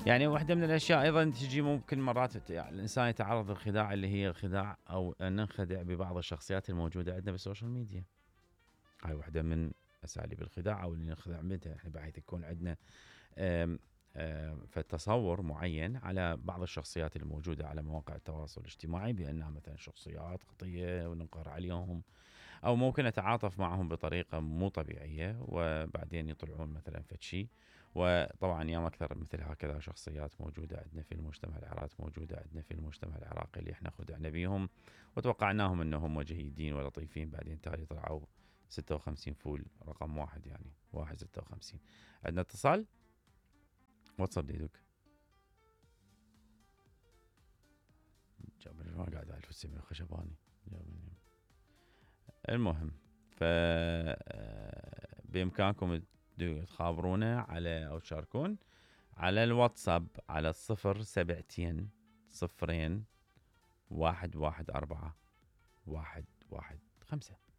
يعني واحدة من الأشياء أيضا تجي ممكن مرات يعني الإنسان يتعرض للخداع اللي هي الخداع أو أن ننخدع ببعض الشخصيات الموجودة عندنا بالسوشيال ميديا. هاي واحدة من أساليب الخداع أو اللي ننخدع منها، يعني بحيث يكون عندنا فتصور معين على بعض الشخصيات الموجودة على مواقع التواصل الاجتماعي بأنها مثلا شخصيات خطية وننقر عليهم، أو ممكن نتعاطف معهم بطريقة مو طبيعية وبعدين يطلعون مثلا فشي. وطبعا ياما أكثر مثل هكذا شخصيات موجودة عندنا في المجتمع العراقي، موجودة عندنا في المجتمع العراقي اللي احنا خدعنا بيهم وتوقعناهم أنهم جيدين ولطيفين، بعدين تالي طلعوا 56 فول رقم واحد، يعني 156. عندنا اتصال. واتساب ديدوك جابني ما قاعد أعرف السمي الخشباني جابني. المهم بإمكانكم تخابرونا على أو تشاركون على الواتساب على 072 0 114 115.